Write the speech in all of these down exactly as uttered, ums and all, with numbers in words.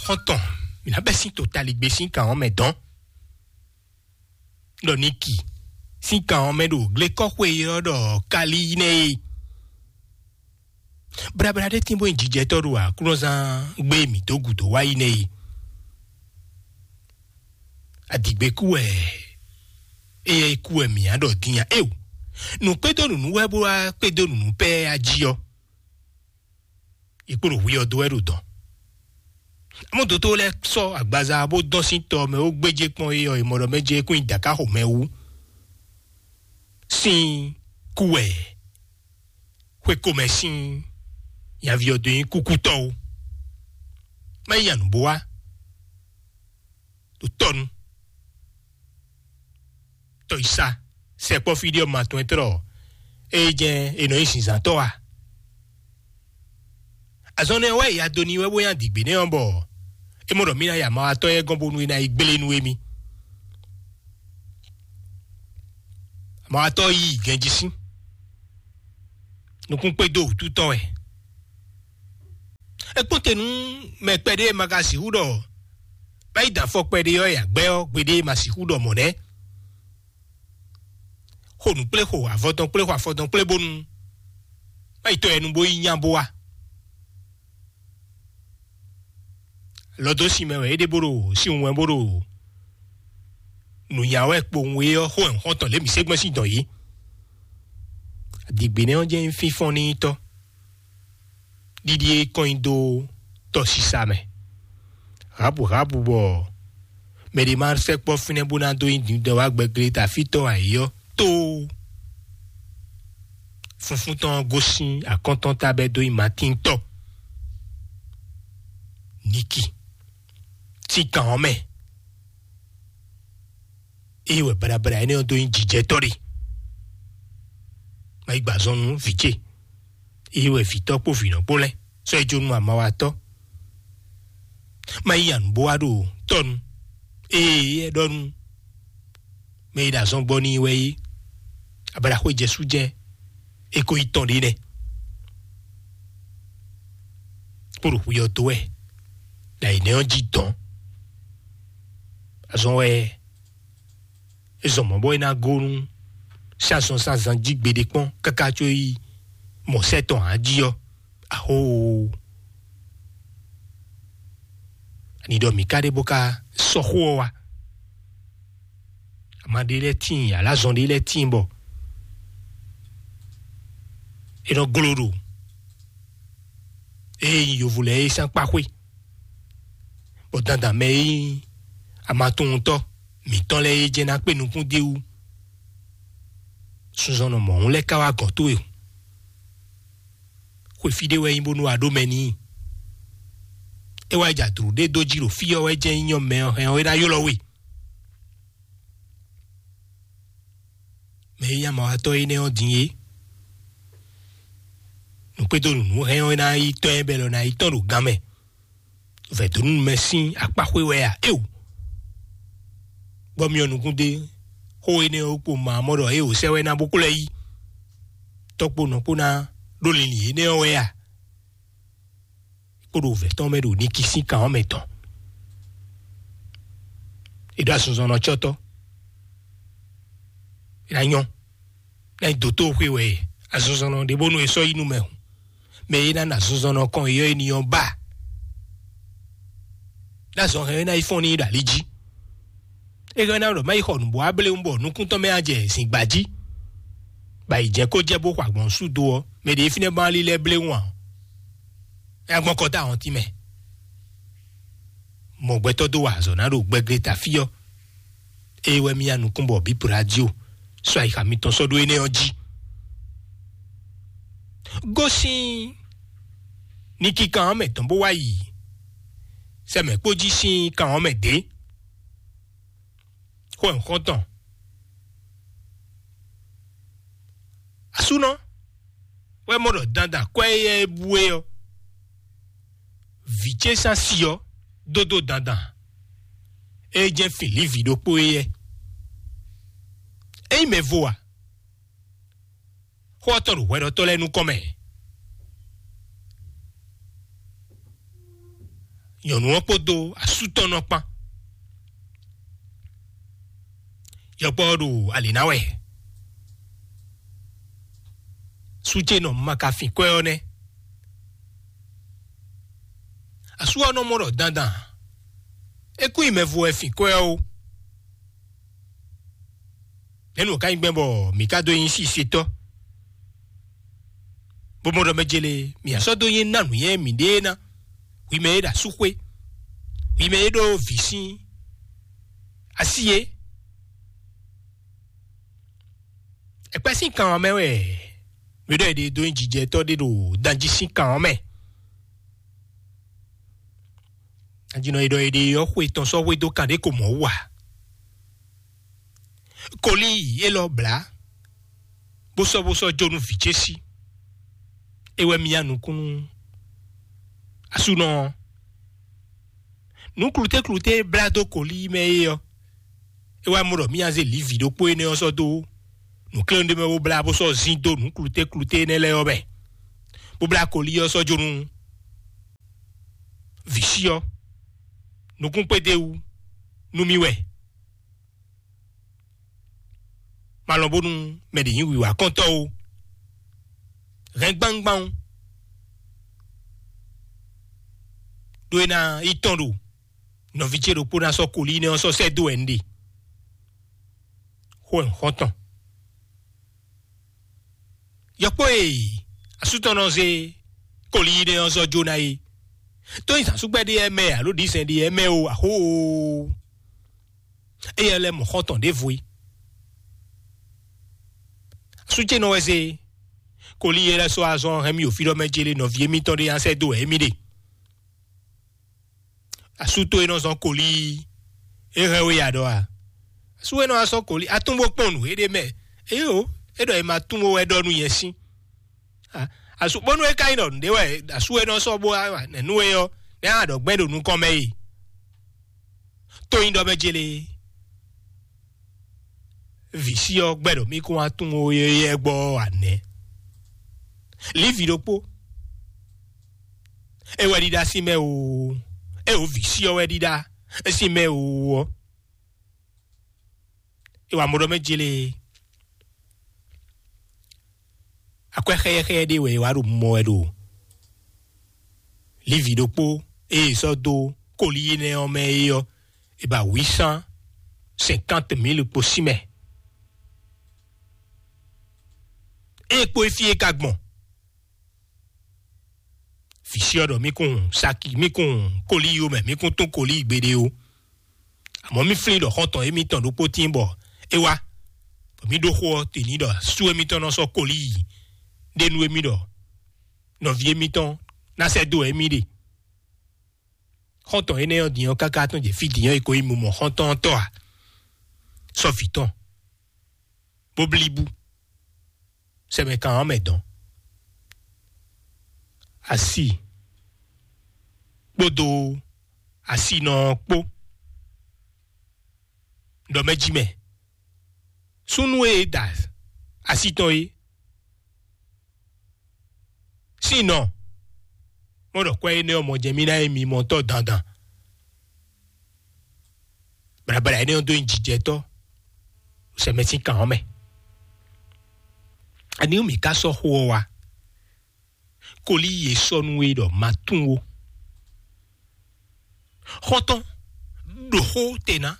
Xɔ́ntɔn, mǐ ná bɛ́ sín totaligbé sín kan ɔ́ mɛ dɔn. Ɖɔ Niki sín kan ɔ́ mɛ ɖo glékɔ́xwe e ɔ́ ɖɔ Kalí nɛ́ é. Blabla ɖé tín bó nyí jijɛtɔ́ ɖo aklúnɔzán gbé mǐ dó gǔdo wá yi nɛ́ é. Adigbe kú wɛ, éyɛ́ kú wɛ mǐ á ɖɔ dín a éo. Nǔ kpédó nǔnú wɛ bó wá kpédó nǔnú pɛ́ a jí ɔ́, è kpo ɖo hwi ɔ́ dó wɛ ɖo dɔ̌n. Amɔ́ dotó lɛ́ɛ sɔ́ agbaza bó dɔn sín tɔ mɛ ó gbéjé kpɔ́n é ɔ́, è mɔ ɖɔ mɛ jɛ kún nyi dǎká xomɛ wú. Sín kú wɛ xwé komɛ sín nyaví ɔ́ dó nyí kúkútɔ́ ó. Má yi nya nǔ bó wá ɖo tɔ́nu. Tɔyisa sɛkpɔ́ fí ɖé ɔ́ ma tɔn ɛ tlɔ ée jɛ́n è nɔ nyí zinzǎntɔ́ a? Azɔn nɛ wɛ ya do n'i wɛ bó nyi adigbe nɛ́ ɔ́ bɔ é mɔ ɖɔ mí ná yi amawatɔ́ yɛ gɔ́n bónú é ná yi gblé nú émí. Amawatɔ́ yí gɛnjí sín nukún kpé dó wǔtu tɔn wɛ. É kpɔ́n te nú mɛ kpɛɖé e ma ka sixú ɖɔ má yi da afɔ kpɛɖé ɔ́ ya gbɛ́ ɔ́ gbeɖé ma sixú ɖɔ mɔ̌ nɛ́. Xo nǔ kplé xo avɔ tɔn kplé xo afɔ tɔn kplé bónú má yi tɔ yɛ nu bó yi nya bó wá. Lɔ dó sin mɛ wɛ é ɖe bó ɖo sin wɛn bó ɖo nǔnya wɛ kpowun é ɔ́ xó ɛ xɔ́ntɔn lě mǐ sé gbɛ́n sín dɔn yìí. Adigbinɛ ɔ́ jẹ́ fínfɔ́n ní tɔ́ ɖiɖi e kɔn nyi dó tɔsisa mɛ. Habu habu bɔ mɛ ɖé ma sɛkpɔ́ fínɛ́ bó ná dó nyi dǐndɔn wá gbɛglé ta fítɔ́ ayǐ ɔ́ tóó. Funfun tɔn ɔ́ gosín akɔ́ntɔn ta bɛ́ dó nyi Matín tɔ́. Niki sín kan ɔ́ mɛ. Ée wɛ baɖabaɖa énɛ́ ɔ́ dó nyí jijɛtɔ́ ɖe. Má yi gba azɔn nú vǐ ce. Ée wɛ vǐtɔ́ kpó vǐnɔ kpó lɛ́ɛ sɔ́ yi jó nú amawatɔ́. Má yi nya nǔ bó wá ɖo tɔ́nu. Ée é ɖɔ nú mɛ e ɖo azɔn gbɔ n'i wɛ é, ablaxwé Jesu jɛ́n é ko yi tɔn ɖě nɛ́. Kpó ɖo xwi ɔ́ dó wɛ ɖo ayǐ nɛ́ ɔ́ jí dɔn. Azɔn wɛ é zɔn mɔ̌ bɔ é ná gó nú sín azɔn sín azan jí gbeɖé kpɔ́n káká có yi mɔ̌ sɛ́ tɔn ǎ jí ɔ́. Axóo! Ani ɖɔ mǐ ka ɖe bó ka sɔ́ xó ɔ́ wá? Ama ɖé lɛ́ɛ tíin, alázɔn ɖé lɛ́ɛ tíin bɔ é nɔ gló ɖo ée nyí yovo lɛ́ɛ é sín akpáxwé, bɔ dandan mɛ e nyí amatunwuntɔ́ mǐtɔn lɛ́ɛ é jɛ ná kpé nukún d'é wú. Sunzɔnnɔ mɔ̌hun lɛ́ɛ ka wá gɔ̌n towe o. Xwe fí ɖé wɛ é nyí bónú a ɖó mɛ n'i. É wá yi jɛ adǔlú ɖé dó jí ɖo fí ɔ́ wɛ jɛ́n nyí nyɔ́ mɛ ɔ́ hɛn ɔ́ é ná ylɔ́ we. Mɛ e nyí amawatɔ́ énɛ́ ɔ́ din é. Nǔkpédó nǔnú hɛn ɔ́ é ná yi tɔ́n ɛ bɛ́ lɔ ná yi tɔ́n ɖo gan mɛ. Vɛ̌donu mɛ sín akpáxwé wɛ a? Éo! Bɔ myɔ nukún dé xó énɛ́ ɔ́ kpo ma mɔ ɖɔ éo sɛ́ wɛ ná bó kplɔ́ ɛ yi. Tɔ́ kpó nɔ kpó ná ɖó linlin énɛ́ ɔ́ wɛ a? Kpó ɖo vɛ̌ tɔn mɛ ɖo Niki sín kan ɔ́ mɛ tɔn. È ɖó asunzɔnnɔ cɔ́tɔ́. È ná nyɔ́. Ná nyí dǒtó xwe wɛ asunzɔnnɔ ɖě bónú è sɔ́ yi nú mɛ hǔn. Mɛ e ná nɔ azinzɔnnɔ kɔn e yɔ éní ɔ́ ba. Ɖó azɔn hɛn é ná yi fɔ́n n'i ɖo ali jí. É hɛn ná ɖɔ má yi xɔ nǔbó abléwún bɔ nukún tɔn mɛ á jɛ zǐngba jí. Bɔ ayǐ jɛ kó jɛ bó xɔ agbɔ̌n sú do ɔ́, mɛ ɖě fínɛ́ ba lílɛ́ bléwún ǎ. É ná gbɔn kɔ dó ahɔntín mɛ. Mɔ gbɛtɔ́ dó wa azɔ̌ ná ɖo gbɛglé ta fí ɔ́. Ée wɛ mì ya nukún bɔ bǐ radio sɔ́ ayixa mitɔn sɔ́ ɖó énɛ́ ɔ́ jí. Gosín ní kíkan ɔ́ mɛ tɔn bó wá yi sɛmɛ kpó jí sín kan ɔ́ mɛ dě. Xó ɛ xɔ́ntɔn. Asúnɔ wɛ mɔ ɖɔ dandan kwɛ́ éyɛ́ é bú é ɔ́, vǐ ce sín asi ɔ́ dó dó dandan. É jɛ́n fin lǐvǐ ɖokpó éyɛ́. Ényí mɛ vo a? Xó ɔ́ tɔn ɖo hwɛɖɔtɔ́ lɛ́ɛ nukɔn mɛ. Nyɔ̌nu ɔ́ kpódó asú tɔn nɔ kpán. Yɔkpɔ́ ɔ́ ɖo alě ná wɛ. Sú ce nɔ ma ka fin kwɛ́ ɔ́ nɛ́. Asú ɔ́ nɔ mɔ ɖɔ dandan é kún nyi mɛvo wɛ fin kwɛ́ ɔ́ ó. Nɛ̌ nǔ ka nyí gbɛn bɔ mǐ ka dó nyí sisetɔ́? Bó mɔ ɖɔ mɛ jele mǐ sɔ́ dó nyí ná nǔnywɛ́ mǐɖée ná. Hwi mɛ e ɖo asúxwé, hwi mɛ e ɖó vǐ sín así é. Ɛkpɛ́ sín kan ɔ́ mɛ wɛ mǐ ɖɔ è ɖe dó nyí jijɛtɔ́ ɖé ɖo danjí sín kan ɔ́ mɛ. Ajínɔ e ɖɔ è ɖe ɔ́ xwe tɔn sɔ́ hwedó kan ɖé ko mɔ̌ wú ǎ. Kolíi élɔ́ blǎ, bó sɔ́ bó sɔ́ jó nú vǐ ce sí. É wɛ myá nukún nú asúnɔ ɔ́. Nǔ klutékluté e blá dó kolíi mɛ é ɔ́, é wá mɔ ɖɔ myá zé lǐvǐ ɖokpó énɛ́ ɔ́ sɔ́ dó nǔkléwún ɖé mɛ bó blá bó sɔ́ zín dó nǔ klutékluté énɛ́ lɛ́ɛ ɔ́ mɛ, bó blá kolíi ɔ́ sɔ́ jó nú vǐ sí ɔ́. Nukún kpédé wú nú mì wɛ. Ma lɔn bónú mɛ ɖě nyí wǐwá kɔntɔ́ ó. Hɛn gbangban ó. Ɖó é ná yi tɔn ɖo nɔví ce ɖokpó ná sɔ́ kolí nɛ́ ɔ́ sɔ́ sɛ́ dó wɛ un ɖe. Xó wɛ un xɔ́n tɔn. Yɔkpɔ́ e asútɔ́ nɔ zé kolí nɛ́ ɔ́ zɔ́ jó ná é. Tó nyi zǎnsúgbɛ́ ɖé ɛ mɛ alo ɖǐzɛn ɖé ɛ mɛ o, axó o. Éyɛ́ lɛ́ mɔ xɔ́ntɔn ɖěvo é. Asú ce nɔ wɛ zé kolí e lɛ́ sɔ́ azɔn hɛn mì ɖo fí ɖɔ mɛ jélé nɔví émítɔn ɖé nya sɛ́ dó wɛ émí ɖe. Asú tó e nɔ zɔn kolí é hɛn we ya ɖɔ a? Asú e nɔ wá sɔ́ kolí atún bó kpɔn nǔ éɖé mɛ. Éyo, é ɖɔ è ma tún bó wɛ ɖɔ nú nyɛ sín. Asú bónú é ka nyí ɖɔ nǔɖé wɛ asú e nɔ sɔ́ bó wá nɛ̌ nú é ɔ́, nɛ̌ a ɖɔ gbɛn ɖo nukɔn mɛ e? Tó nyí ɖɔ mɛ jélé. Vǐ sí ɔ́ gbɛ́ ɖɔ mí kún wá tunwun yɛ́yɛ́ gbɔ ɔ́ ǎ nɛ́. Lǐvǐ ɖokpó, é wɛ ɖíɖá sín mɛ oo, é wǒ vǐ sí ɔ́ wɛ ɖíɖá sín mɛ oo ɔ́, é wǎ mɔ ɖɔ mɛ jélé. Akwɛ́ xɛyɛ́xɛyɛ́ ɖé wɛ è wá ɖo mɔ wɛ ɖo Lǐvǐ ɖokpó e è sɔ́ dó koli énɛ́ ɔ́ mɛ é ɔ́, è ba huit cent cinquante mille kpo sín mɛ. Ée kpó é fí é ka gbɔn. Vǐ sí ɔ́ ɖɔ mí kún saki, mí kún koli yó mɛ, mí kún tún koli gbeɖé ó. Amɔ̌ mí flín ɖɔ xɔ́ntɔn émítɔn ɖokpó tíin bɔ é wá, bɔ mí ɖó xó ɔ́ te ní ɖɔ sú émítɔn nɔ sɔ́ koli yi ɖe nú émí ɖɔ nɔví émítɔn ná sɛ́ dó émí ɖe. Xɔ́ntɔn énɛ́ ɔ́ din ɔ́ káká tɔn jɛ fí din ɔ́, è ko yi mɔ xɔ́ntɔn ɔ́ tɔ́ ǎ, sɔ́ vǐ tɔn, bó blí bú. Sɛmɛ kan ɔ́ mɛ dɔn. Asi kpódó asinɔ ɔ́ kpó. Ɖɔ mɛ jí mɛ. Súnnu e da asi tɔn é sín nɔ mɔ ɖɔ kwɛ́ énɛ́ ɔ́ mɔ jɛ mí ná é mi mɔ tɔ́ dandan. Blabla énɛ́ ɔ́ dó nyi jijɛtɔ́ sɛmɛ sín kan ɔ́ mɛ. Ani mǐ ka sɔ́ xó ɔ́ wá? Kolí yě sɔ́ nú we ɖɔ ma tún ó. Xɔ́ntɔn, ɖo xó te ná.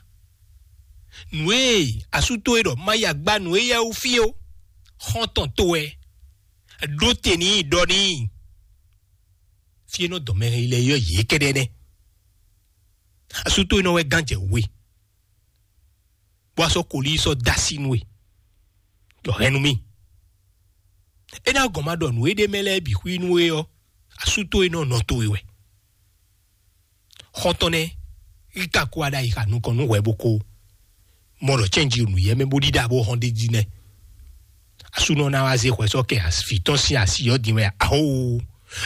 Nǔ e asú towe ɖɔ ma yi agba nǔ éyɛ́ wú fí ó. Xɔ́ntɔn towe, ɖó te n'i ɖɔ n'i. Fí e nɔ dɔn mɛ lɛ́ɛ yɔ yě kɛ́ɖɛ́ nɛ́. Asú towe nɔ wɛ gán jɛ we, bó wá sɔ́ kolí sɔ́ dó así nú we, ɖɔ hɛn nú mì. É ná gɔn ma ɖɔ nǔ e ɖ'é mɛ lɛ́ɛ bǐ xwí nú we ɔ́, asú towe nɔ nɔ towe wɛ. Xɔ́ntɔn nɛ́, yi ka kó aɖayi xa nukɔn nú hwɛ bó kó mɔ ɖɔ cɛ́nji nǔyɛ́ mɛ bó ɖíɖá bó hɔn ɖ'é jí nɛ́. Asúnɔ ná wá zé hwɛ sɔ́ kɛ vǐ tɔn sín asi ɔ́ din wɛ ahóo.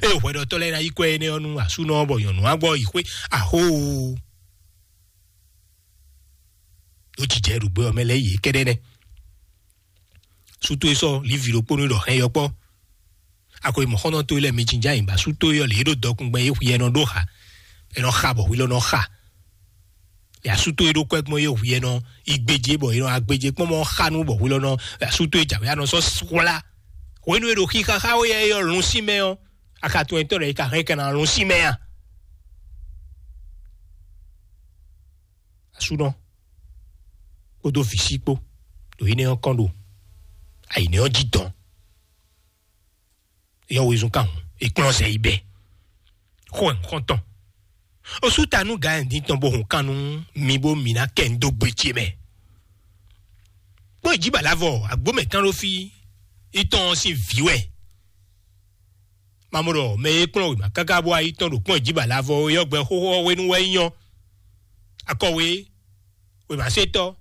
Ée hwɛɖɔtɔ́ lɛ́ɛ ná yí kwɛ́ énɛ́ ɔ́ nú asúnɔ ɔ́ bɔ nyɔ̌nu wá gbɔ yi xwé ahóo. Ɖó jijɛ ɖo gbɛ ɔ́ mɛ lɛ́ɛ yě kɛ́ɖɛ́ nɛ́. Sú towe sɔ́ Livi ɖokpónú ɖɔ hɛn yɔkpɔ́. Ako e mɔ̌xɔ́ntɔn towe lɛ́ɛ mi jínjɔ́n ayǐ ba sú towe ɔ́ lě e ɖo dɔkun gbɛn é hwi ɛnɔ ɖó xa. È nɔ xa bɔ hwi lɔ nɔ xa. Yasútó e ɖó kwɛ́ gbɔn yé hwi e nɔ yi gbéjé bɔ è nɔ agbéjé kpɔ́n mɔ xa nú bɔ hwi lɔ nɔ yasútó e jǎwe anɔ sɔ́ hwlá. Hwenu e ɖo xixaxa ó yɛ é yɔ lun sí mɛ ɔ́, a ka tunwun etɔ́ ɖɔ é ka hɛn kɛ́ ná lun sí mɛ a? Asúnɔ kpódó vǐ sí kpó ɖo énɛ́ ɔ́ kɔn ɖo ayǐnɛ́ ɔ́ jí dɔn. Yɔ wezun kan hǔn, è kplɔ́n zɛ yi bɛ́. Xó ɛ nukɔn tɔn. Osúta nú Gayɛndín tɔn bó hun kan nú mi bó mi ná kɛ ń dó gbe ce mɛ. Kpɔ́n ìjíbàlávɔ agbómɛtán ɖó fí, itɔn ɔ́ sín vǐ wɛ. Mamɔɖɔ mɛ e kplɔ́n wěma káká bó wá yi tɔn ɖo kpɔ́n ìjíbàlávɔ é ɔ́ gbɛ xóxó ɔ́ hwenu wɛ é nyɔ́. Akɔwe, wěmasetɔ́,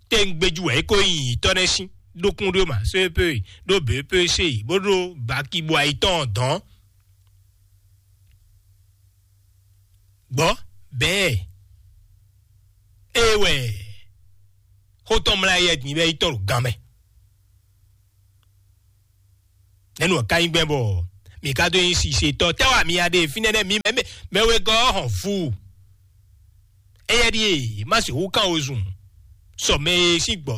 tɛ́ngbéjú wɛ é ko nyi nyǐtɔ́ nɛ́ sín, ɖó kún ɖó ma sépé, ɖó běpé sé yi, bó ɖó baki bó ayi tɔn dɔn. Gbɔ bɛɛ, é wɛ xó tɔn mlá yɛ din bɛ yi tɔn ɖo gan mɛ. Nɛnu ɔ́ ka nyí gbɛn bɔ mi ka dó nyi sisetɔ tɛ́ wá mi ya ɖe fínɛ́ nɛ́ mi mɛ mɛ wegɔ́ ɔ́ hɔn fu. Éyɛ́ ɖíe má sixú kán wezun sɔ mɛ e sín gbɔ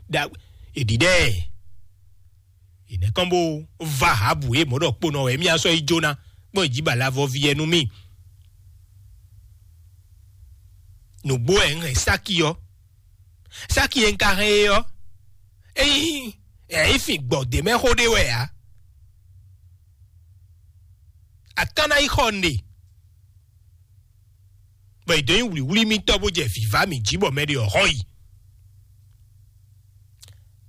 da èɖiɖɛ. Ìnɛ́ kɔn bó va Ahabu e mɔ̌ ɖɔ kponɔ wɛ mía sɔ́ yi jóná kpɔ́n ìjíbalavɔví ɛ nú mì. Nǔgbó wɛ un hɛn Sáki ɔ́. Sáki e un ka hɛn é ɔ́, é nyí ɛ é fin gbɔ ɖě mɛ xó ɖé wɛ ǎ. A ka ná yi xɔ nɖe, bɔ è dǒ nyi wlǐwlí mitɔ́ bó jɛ vǐvá mǐ jí bɔ mɛ ɖé ɔ́ xɔ yi.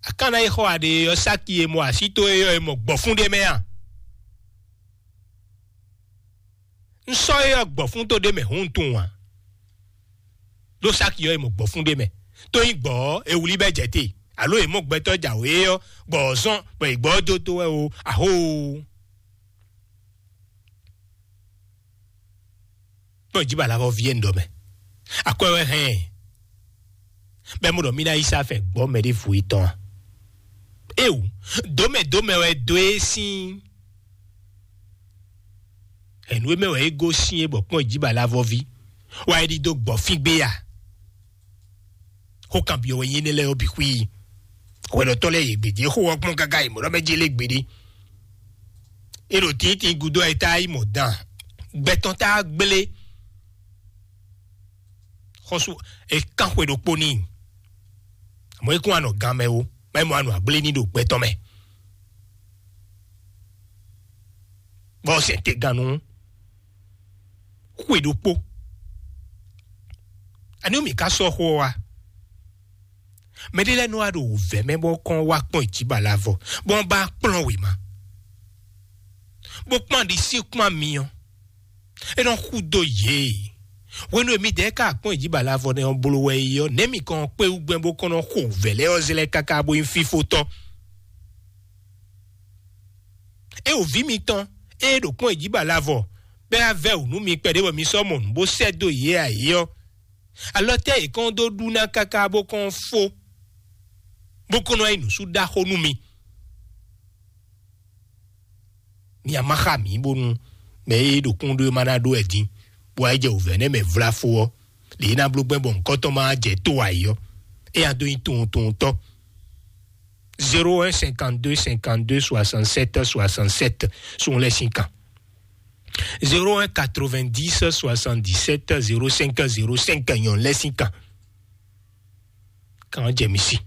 A ka ná yi xɔ aɖe ɔ́, Sáki e mɔ así towe ɔ́, è mɔ gbɔ̌fún ɖé mɛ a? Un sɔ́ é ɔ́ gbɔ̌fún tó ɖé mɛ hǔn tunwun ǎ. Ɖó Sáki ɔ́, è mɔ gbɔ̌fún ɖé mɛ. Tó nyí gbɔ̌ ɔ́, è wlí bɛ́ jɛ te, alo è mɔ gbɛtɔ́ jǎwe é ɔ́, gbɔ̌ ɔ́ zɔ́n bɔ è gbɔ́ ɔ́ dó tó wɛ o, ahóoo. Kpɔ́n jí balavɔ ví e un ɖɔ mɛ. Akwɛ́ wɛ hɛn ɛ. Bɛ́ mo ɖɔ mí ná yí sá fɛn gbɔ́ mɛ ɖěvo yětɔn a? Éwu, dǒmɛ dǒmɛ wɛ dó é sín. Hɛ̌nnu e mɛ wɛ é gosín é bɔ kpɔ́n jí balavɔ ví wá é ɖidó gbɔ̌ fín gbé a? Xó kanbyɔ́ wɛ nyí énɛ́ lɛ́ɛ ɔ́ bǐ xwí. Hwɛɖɔtɔ́ lɛ́ɛ yě gbějé xó ɔ́ kpɔ́n káká yi mɔ̌ ɖɔ mɛ jélé gbeɖé. É ɖo tǐntìn gúdo ɛ tá yi mɔ dan. Gbɛtɔ́ tá gblé. Xɔ́sú è kán xwe ɖokpó n'i. Àmọ́ é kún anɔ gan mɛ ó, má é mɔ anɔ agblé ní ɖo gbɛtɔ́ mɛ. Bɔ sɛn te gan nú xwe ɖokpó. Ani mì ka sɔ́ xó ɔ́ wá? Mɛɖé lɛ́ɛ nɔ wá ɖo wǔvɛ́ mɛ bɔ kɔn wá kpɔ́n ìjíbalavɔ, bɔ wọ́n bá kplɔ́n wěma, bó kpán ɖisí kpán myɔ. É nɔ xú dó yě. Hwenu e midɛɛ ka kpɔ́n ìjíbalavɔ nɛ́ ɔ́ bló wɛ é ɔ́, nɛ̌ mi kɔn kpé wú gbɛn bó kɔn nɔ xo wǔvɛ́ lɛ́ɛ ɔ́ zlɛ́ káká bó nyí fífótɔ́? É wǒ ví mitɔn, ée ɖo kpɔ́n ìjíbalavɔ, bɛ́ á vɛ́ wǔ nú mi kpɛɖé bɔ mi sɔ́ mɔ nǔ bó sɛ́ dó yě ǎ é ɔ́, alɔ tɛ́ yě kɔn dó ɖu ná káká bó kɔn fó, bó kɔn nɔ yi nǔsú ɖaxó nú mi? Mi a ma xa mǐ bónú mɛ e ɖo kún ɖó e ma ná ɖó wɛ din, bó wá yi jɛ wǔvɛ́ nɛ́ mɛ vlá fó ɔ́, lě e ná bló gbɛn bɔ nǔkɔtɔn ma jɛ tó ayǐ ɔ́, é nya dó nyí tunwuntunwuntɔ́. Zéro un cinquante-deux cinquante-deux soixante-sept soixante-sept sun lɛ́ sín kan. Zéro un quatre-vingt-dix soixante-dix-sept zéro cinq zéro cinq nyɔ̌nu lɛ́ sín kan. Kan jɛ mi sí.